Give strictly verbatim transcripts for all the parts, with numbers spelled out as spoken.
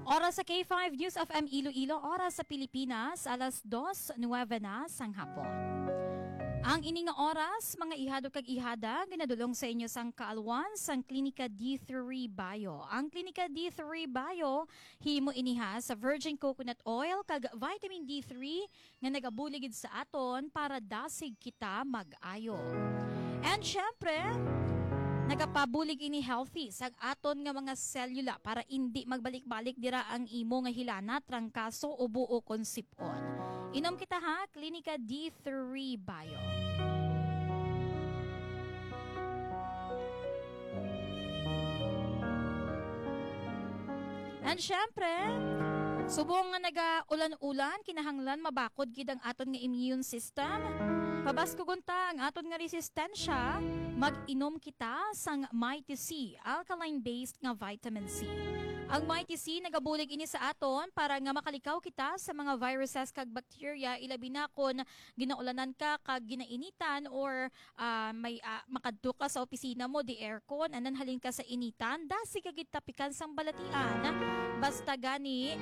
Oras sa K five News F M Iloilo, oras sa Pilipinas, alas dos nuebe na sang hapon. Ang ini nga oras, mga ihado kag ihada, ginadulong sa inyo sang kaalwan sang Klinika D three Bio. Ang Klinika D three Bio, himo ini ha sa virgin coconut oil kag vitamin D three nga nagabulig gid sa aton para dasig kita mag-ayo. And syempre, nagapabulig ini healthy sa aton nga mga selula para indi magbalik-balik dira ang imo nga hilana, trangkaso, ubo o kon sip-on. Inom kita ha, Klinika D three Bio. And syempre, subong nga naga-ulan-ulan, kinahanglan mabakod gid ang aton nga immune system. Pabaskugon ta ang aton nga resistensya, mag-inom kita sang Mighty C, alkaline-based nga vitamin C. Ang Mighty C nagabulig ini sa aton para nga makalikaw kita sa mga viruses kag bacteria, ilabi na kon ginaulanan ka kag ginainitan or ah, may, ah, makadto ka sa opisina mo, di aircon, andan halin ka sa initan, dasig ka gid tapikan sang balatian. Basta gani,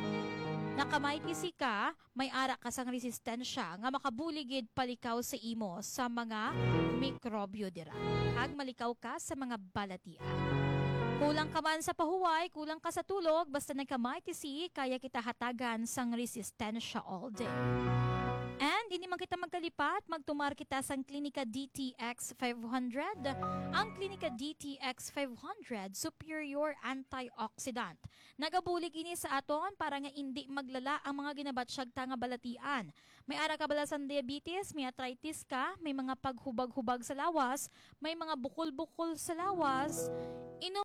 naka-Mighty C ka, may ara ka sang resistensya nga makabulig gid palikaw sa imo sa mga mikrobyo dira. Kag malikaw ka sa mga balatian. Kulang ka man sa pahuway, kulang ka sa tulog, basta nagka-Mighty C, kaya kita hatagan sang resistensya all day. And hindi man kita magkalipat, magtumar kita sang Klinika D T X five hundred. Ang Klinika D T X five hundred, superior antioxidant. Nagabulig ini sa aton para nga indi maglala ang mga ginabatsyag ta nga balatian. May ara ka bala sang diabetes, may arthritis ka, may mga paghubag-hubag sa lawas, may mga bukol-bukol sa lawas, inom